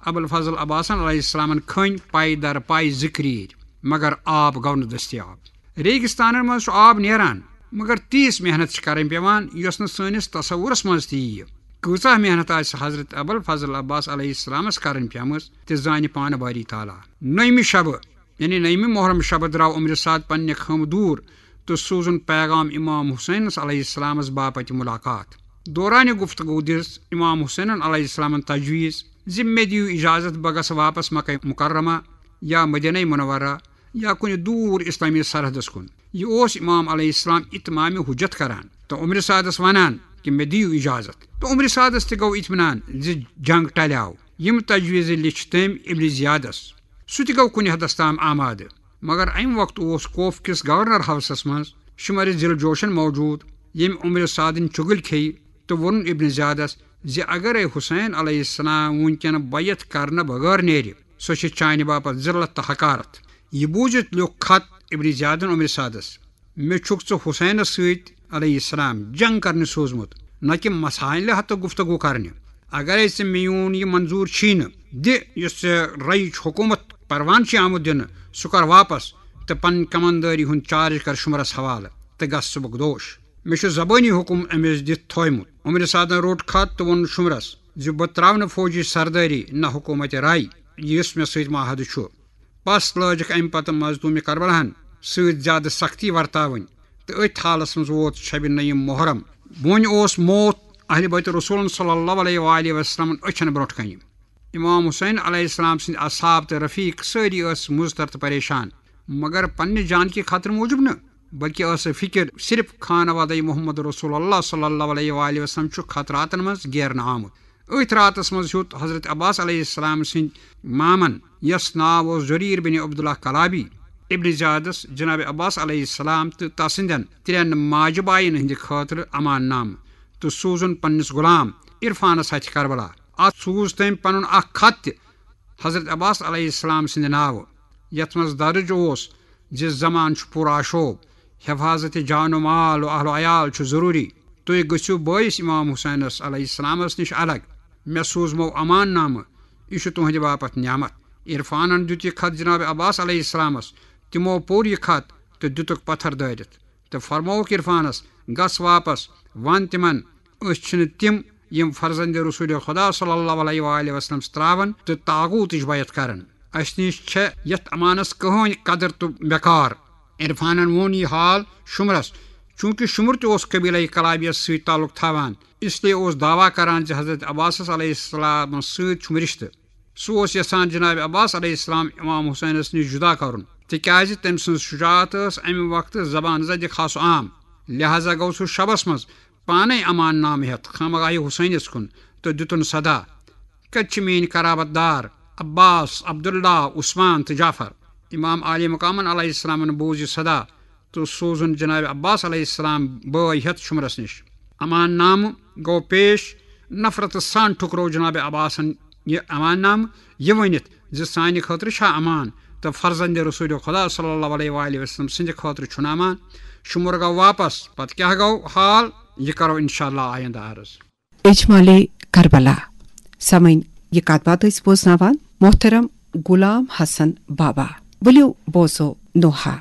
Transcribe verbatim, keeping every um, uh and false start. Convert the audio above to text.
ابوالفضل عباسن علیہ السلامن کھٔنۍ پاے در پاے زٕ کریٖرۍ، مگر آب گوٚو نہٕ دٔستیاب۔ ریگستانن منٛز چھُ آب نیران، مگر تیٖژ محنت چھِ کرٕنۍ پٮ۪وان، یۄس نہٕ سٲنِس تصورس منٛز تہِ یِیہِ۔ کۭژاہ محنت آسہِ حضرت ابوالفضل عباس علیہ السلامس کرٕنۍ پیمٕژ، تہِ زانہِ پانہٕ باری تعالیٰ۔ نٔیمہِ شبہٕ، یعنی نٔیمہِ محرم شبہٕ، درٛاو عمر سعد پننہِ خٲمہٕ دوٗر تہٕ سوٗزُن پیغام امام حسینس علیہ السلامس باپتہِ ملاقات۔ دورانہِ گفتگو دِژ امام حسینن علیہ السلامن تجویز زِ مےٚ دِیِو اجازت، بہٕ گژھٕ واپس مکہ مکرمہ یا مدینہ منورہ یا کُنہِ دوٗر اسلامی سرحدس کُن۔ یہِ اوس امام علیہ السلام اتمام حجت کران تہٕ عمر سعدس ونان کہِ مےٚ دِیِو اجازت۔ تہٕ عمر سعدس تہِ گوٚو اطمینان زِ جنگ ٹلیو۔ یِم تجویز لیٚچھ تٔمۍ ابن زیادس۔ سُہ تہِ گوٚو کُنہِ حدس تام آمادٕ، مگر امہِ وقتہٕ اوس کوف کِس گورنر ہاوسس منٛز شمر ذی الجوشن موجود، ییٚمۍ عمر سعدٕنۍ چُگٕلۍ کھیٚیہِ تہٕ ووٚنُن ابن زیادس زِ اگرے حسین علیہ السلام وُنکٮ۪ن بیعت کرنہٕ بغٲر نیرِ، سۄ چھِ چانہِ باپتھ ذلت تہٕ حقارت۔ یہِ بوٗزِتھ لیوٚکھ خط ابن زیادن عمر سعدس، مےٚ چھُکھ ژٕ حسینس سۭتۍ علیہ السلام جنگ کرنہِ سوٗزمُت، نہ کہِ مسائلہِ ہتہٕ گفتگو کرنہِ۔ اگرے ژےٚ میون یہِ منظور چھی نہٕ، دِ یُس ژےٚ رئیچ حکومت پروان چھُے آمُت دِنہٕ، سُہ کر واپس تہٕ پنٕنۍ کماندٲری ہُنٛد چارج کر شمرس حوالہٕ تہٕ گژھ صبحُک دوش۔ مےٚ چھُ زبٲنی حکم أمِس دِتھ تھوومُت۔ عمر سعدن روٚٹ خط تہٕ ووٚن شمرس زِ بہٕ ترٛاونہٕ فوجی سردٲری نہ حکومت راے، یُس مےٚ سۭتۍ معاہدٕ چھُ۔ پس لٲجکھ امہِ پتہٕ مظلوم کربلاہن سۭتۍ زیادٕ سختی ورتاوٕنۍ، تہٕ أتھۍ حالس منٛز ووت شبِ نعیم محرم۔ وۄنۍ اوس موت اہل بیت رسولن صلی اللہ علیہ وآلہ وسلمن أچھن برونٛٹھ کنہِ۔ امام حسین علیہ السلام سٕنٛدۍ اصحاب تہٕ رفیق سٲری ٲسۍ مضطر تہٕ پریشان، مگر پننہِ جان کہِ خطرٕ موٗجوب نہٕ، بلکہِ ٲس فکر صرف خانوادہ محمد رسول اللہ صلی اللہ علیہ وآلہ وسلم چھُ خطراتن منٛز گیرنہٕ آمُت۔ أتھۍ راتس منٛز ہیوٚت حضرت عباس علیہ السلام سٕنٛدۍ مامن، یس ناو اوس جریر بن عبداللہ کلابی، ابن زیادس جناب عباس علیہ السلام تہٕ تسٕنٛدٮ۪ن ترٛٮ۪ن ماجہِ باین ہٕنٛدِ خٲطرٕ امان نامہٕ تہٕ سوٗزُن پننِس غلام عرفانس ہتھِ کربلا۔ اتھ سوٗز تٔمۍ پنُن اکھ خط تہِ حضرت عباس علیہ السلام سٕنٛدِ ناوٕ، یتھ منٛز درج اوس زِ زمان چھُ پوٗرٕ آشوب، حفاظت جان و مال و اہل و عیال چھُ ضروٗری۔ تُہۍ گٔژھِو بٲیِس امام حسینس علیہ السلامس نِش الگ۔ مےٚ سوٗزمو امان نامہٕ، یہِ چھُ تُہنٛدِ باپتھ نعمت۔ عرفانن دیُت یہِ خط جناب عباس علیہ السلامس۔ تِمو پوٚر یہِ خط تہٕ دِتُکھ پتھر دٲرِتھ۔ تہٕ فرمووُکھ عرفانس، گژھ واپس، ون تِمن، أسۍ چھِنہٕ تِم یِم فرزند رسول خدا صلی اللہ علیہ وآلہ وسلم تراون تہٕ طاغوتٕچ بیعت کرن۔ اسہِ نِش چھےٚ یتھ امانس کٕہٕنۍ قدر تہٕ مقار۔ عرفانن ووٚن یہِ حال شمرس، چونکہ شمر تہِ اوس قبیلہ کلابیس سۭتۍ تعلق تھاوان، اس لیے اوس دعویٰ کران زِ حضرت عباسس علیہ السلامس سۭتۍ چھُم رشتہٕ۔ سُہ اوس یژھان جناب عباس علیہ السلام امام حسینس نِش جدا کرُن، تِکیازِ تٔمۍ سٕنٛز شجاعت ٲس امہِ وقتہٕ زبان زدِ خاص و عام۔ لہذا گوٚو سُہ شبس منٛز پانے امان نامہٕ ہٮ۪تھ خامگاہہِ حسینس کُن تہٕ دِتُن صدا، کتہِ چھِ میٲنۍ قرابت دار عباس، عبداللہ، عثمان تہٕ جعفر؟ امام عالی مقامن علیہ السلامن بوٗز یہِ صدا تہٕ سوٗزُن جناب عباس علیہ السلام بٲے ہٮ۪تھ شمرس نِش۔ امان نامہٕ گوٚو پیش۔ نفرتہٕ سان ٹھُکرو جناب عباسن یہِ امان نامہٕ، یہِ ؤنِتھ زِ سانہِ خٲطرٕ چھا امان تہٕ فرزند رسول خدا صلی اللہ علیہ وآلہ وسلم سٕنٛدِ خٲطرٕ چھُنہٕ امان۔ شمر گوٚو واپس۔ پتہٕ کیٛاہ گوٚو حال، یہِ کرو انشاءاللہ آیندٕ عرض۔ اجمالِ کربلا۔ سامعین، یہِ کتھ باتھ ٲسۍ بوزناوان محترم غلام حسن بابا۔ ؤلِو بوزو نوحہ۔